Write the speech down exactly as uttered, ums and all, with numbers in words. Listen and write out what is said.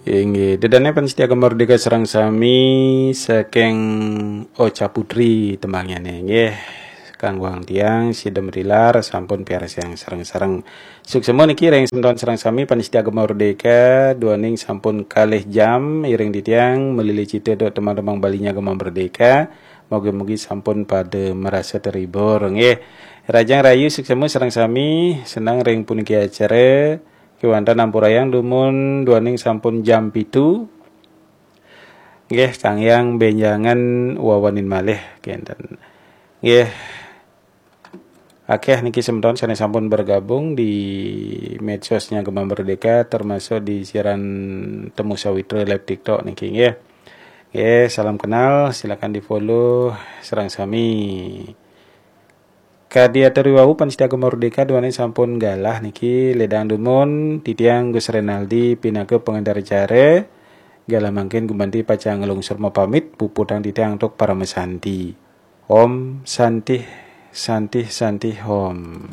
Inggih, dedane pamiarsa Gema Merdeka sareng sami saking Ocha Putri tembangnane nggih. Kangguang tiang sida mrilar sampun piarsayang sareng-sareng. Suksma niki ring semeton sareng sami pamiarsa Gema Merdeka, duaning sampun kalih jam iring titiang melili cita duk teman-teman Balinya Gema Merdeka. Mugi-mugi sampun pada merasa terhibur nggih. Rahajeng rahayu suksma sareng sami, seneng ring puniki acara. Kewanten ampurayang dumun duaning sampun jam pitu. Nggih, kanggiang benjangan wawanin malih kenten. Nggih. Akeh niki semeton sane sampun bergabung di medsosnya Gema Merdeka, termasuk di siaran Temu Sawitra live TikTok niki nggih. Nggih, salam kenal, silakan di-follow sareng sami. Kadi atur wau pamiarsa Gema Merdeka duaning sampun galah niki, ledang dumun titiang Gus Renaldi pinaka pengantar acara. Galah mangkin gumanti pacang nglungsur mapamit, puputang titiang antuk paramasanti. Om Santih, Santih, Santih Om.